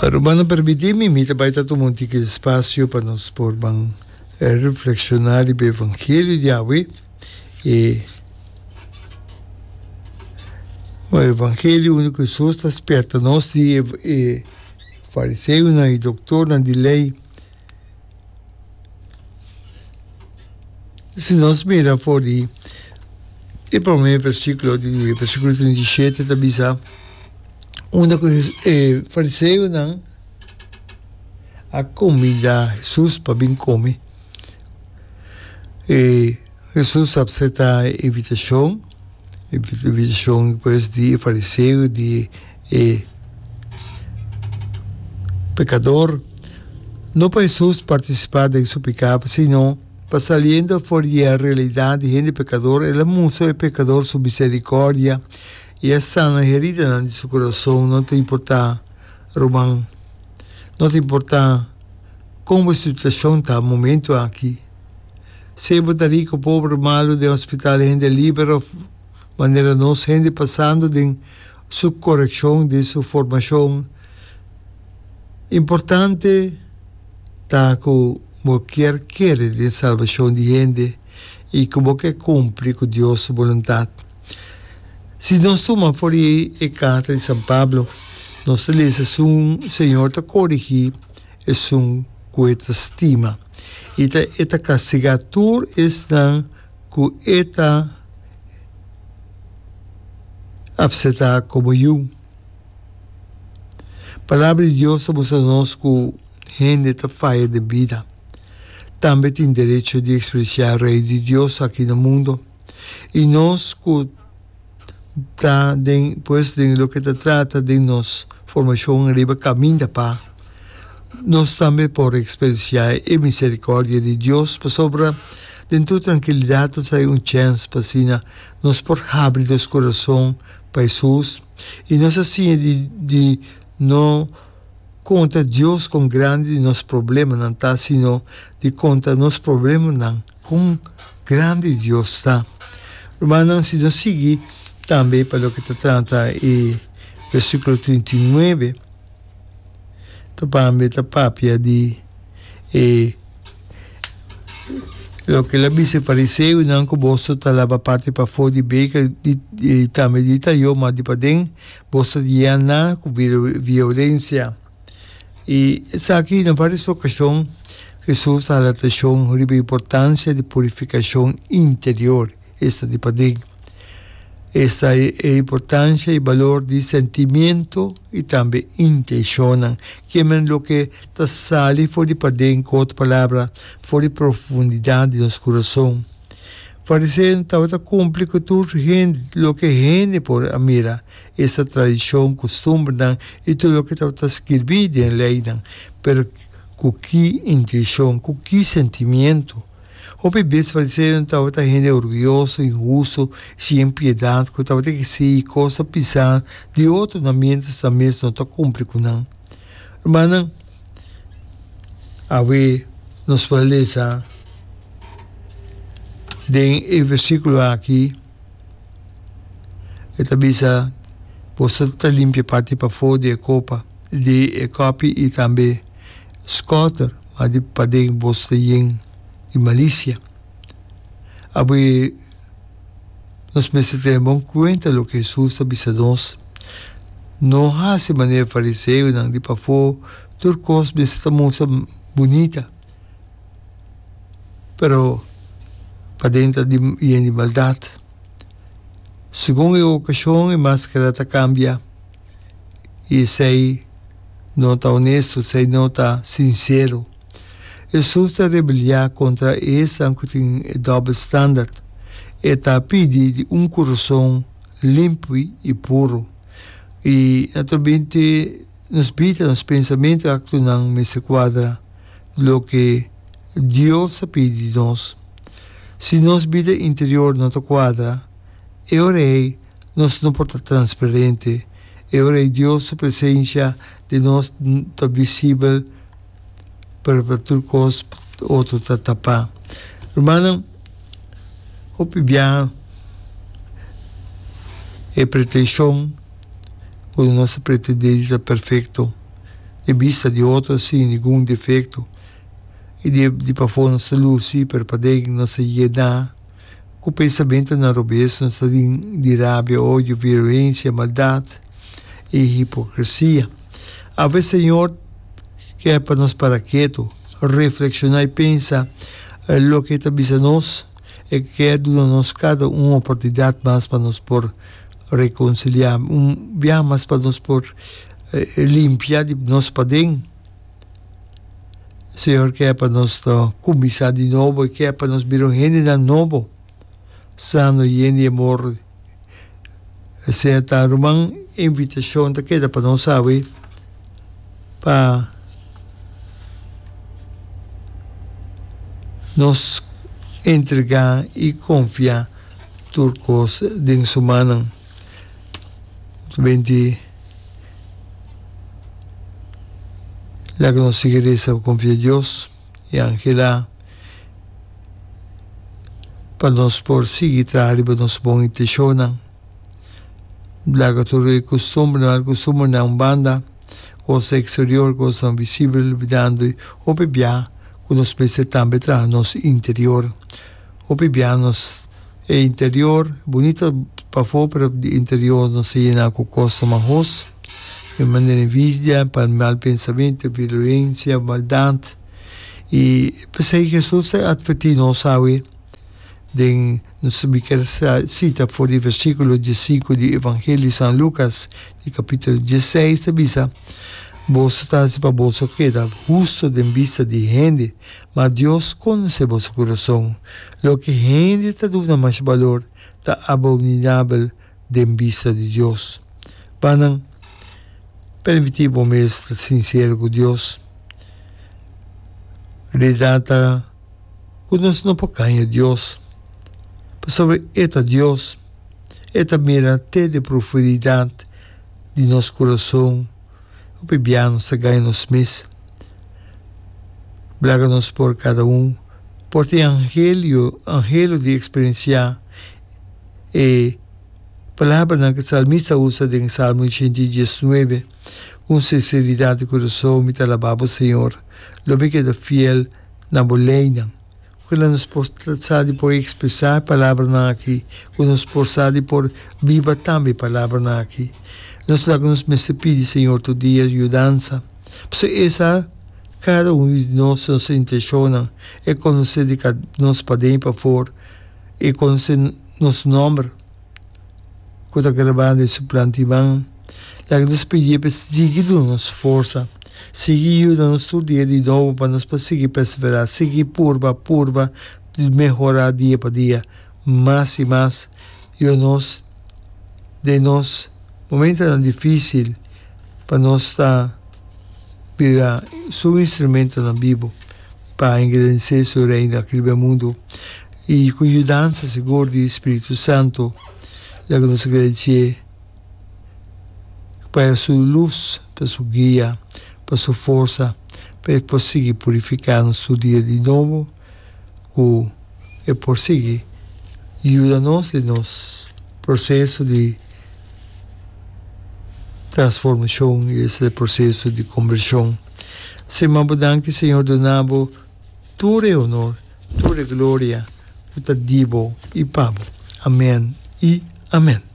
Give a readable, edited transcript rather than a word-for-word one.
Rumannan permití mi, mi ta bai ta tuma un tiki espasio pa nos por ban reflekshoná riba e evangelio di awe. E evangelio unda ku Hesus ta spierta nos di e fariseonan i doktornan di lei. Si nos mira for di e promé versíkulo di versíkulo 37 ta bisa unda ku e fariseonan a kombidá Hesus pa bin kome. E Hesus a aseptá e invitashon, e invitashon pues di e fariseo di e pekador. No pa Hesus partisipá den su piká, sino pa saliendo for di e realidat di hende pekador, el a mustra e pekador su miserikòrdia i a sana heridanan di su kurason. No ta importá, ruman, no ta importá kon bo situashon ta momentu aki. Sea bo ta riku, pober, malu, den hospital, hende liber òf manera nos, hende pasando den su korekshon, den su formashon. Importante ta ku bo kier kere den salbashon di hende i ku bo ke kumpli ku Dios su boluntat. Si nos tuma for di e karta di San Pablo, nos ta lesa esun Señor ta korigí esun ku e ta stima i ta e ta kastigá tur esnan ku e ta apseptá komo yu. Palabra di Dios ta mustra nos ku hende ta faya den bida. Tambe tin derecho di eksperensiá Rei di Dios aki na mundu. I nos ku ta den pues den loke ta trata den nos formashon riba kaminda pa nos tambe por eksperensiá e miserikòrdia di Dios pasobra den tur trankilidat nos hay un chèns pa asina nos por habri nos kurason pa Hesus i nos a siña di di no konta Dios kon grandi di nos problemanan ta sino di konta nos problemanan kon grandi Dios ta. Rumannan si nos sigui tambe pa loke ta trata e versíkulo 39 ta pambe ta papia di e Loke el a bisa e fariseonan ku boso ta laba parti pafó di beker i tambe di tayó, ma di paden boso ta yená ku violensia. I esaki na vários okashon Hesus a hala atenshon riba e importansia di purifikashon interior. Esta di paden. Esta e importancia y balor di sentimiento y tambe intencionnan. Kimen loke ta sali for di paden, cu otro palabra, for di profundidad di nos curason. Fariseonan tabata cumpli cu tur hende loke hende por a mira, esta tradicion, custumbernan y tur loke tabata skirbi den leynan. Pero cu ki intencion, cu ki sentimiento? Hopi bes fariseonan tabata hende orguyoso, inhusto i sin piedat ku tabata eksigi kos ta pisá di otronan miéntras nan mes no ta kumpli ku nan. Rumannan, awe nos por a lesa den e versíkulo aki, e ta bisa, Boso ta limpia parti pafó di e kopa, di e kòpi i tambe skòter, ma di paden boso ta yen di malisia. Awe nos mester tene bon kuenta loke Hesus ta bisa nos. No hasi manera fariseonan di pafó, tur kos mester ta mustra bunita, pero paden ta yen di maldat. Segun e okashon e maskara ta kambia i esei no ta honesto, esei no ta sinsero. Hesus ta rebeliá kontra esnan ku tin e dòbel standard. E ta pidi di un kurason limpi i puru. I naturalmente nos bida, nos pensamentu i aktonan mester kuadra loke Dios ta pidi di nos. Si nos bida interior no ta kuadra, e ora ei nos no por ta transparente, e ora ei Dios su presencia den nos ta visibel, pero pa tur cos otro ta tapá. Rumannan, hopi biaha e pretension cu nos ta pretende di ta perfecto. Den bista di otro sin ningun defekto i di pafó nos ta lusi pero paden nos ta yená ku pensamentunan robes, nos ta di rabia, odio, violensia, maldat i hipokresia. Awe Señor ke pa nos para ketu, reflekshoná i pensa loke E ta bisa nos. E ke duna nos kada un oportunidat mas pa nos por rekonsiliá, un biaha mas pa nos por limpia di nos paden. Señor ke pa nos ta kuminsá di nobo, e ke pa nos bira un hendenan nobo, sano, yen di amor. Esei ta ruman invitashon ta keda pa nos awe pa nos entregá i konfia tur kos den su mannan. Benti laga nos sigui resa pa konfia Dios i angelá pa nos por sigui traha riba nos bon intenshonnan. Laga tur e kustumbernan, mal kustumbernan un banda, kos eksterior, kosnan visibel, olbidando hopi bia ku nos mester tambe traha nos interior. Hopi bia nos e interior bunita pafó pero di interior nos ta yena ku kosnan mahos, di manera envidia, mal pensamentu, violencia, maldat. I p'esei Hesus ta atvertí nos awe den nos mi kier sita for di versíkulo diesinku di Evangelio di San Lukas di kapítulo dieseis ta bisa, Boso ta hasi pa boso keda hustu den bista di hende, ma Dios konosé boso kurason. Loke hende ta duna mas balor ta abominabel den bista di Dios. Pa nan, permití bo mes ta sinsero ku Dios. Realidat ta ku nos no por gaña Dios, pasobra e ta Dios. E ta mira te den profundidat di nos kurason. Hopi bia nos ta gaña nos mes. Laga nos por kada un por tin angelio, anhelo di eksperensiá e palabranan ku salmista a usa den Salmo 119, Ku un sinseridat di kurason mi ta alabá bo, Señor. Lo mi keda fiel na bo leinan. Ku nos por sa di por ekspresá e palabranan aki, ku nos por sa di por biba tambe e palabranan aki. Nos laga nos mester pidi Señor tur dia yudansa, pasobra E sa kada un di nos, nos intenshonnan, E konosé di nos paden i pafor, E konosé nos nòmber ku ta grabá den su plantiman. Laga nos pidié pa e sigui duna nos forsa, sigui yuda nos tur dia di nobo pa nos por sigui perseverá, sigui purba, purba di mehorá dia pa dia mas i mas. Yuda nos den nos momentonan difísil pa nos ta bira su instrumentonan bibu pa engrandesé su Reino aki riba e mundu. I ku yudansa sigur di Spiritu Santu, laga nos gradisié pa su lus, pa su guia, pa su forsa, pa e por sigui purifiká nos tur dia di nobo, ku e por sigui yuda nos den nos proseso di transformashon i esei proseso di kombershon. Sima bo danki Señor duna bo tur e honor, tur e gloria ku ta di bo i pa bo. Amen i amen.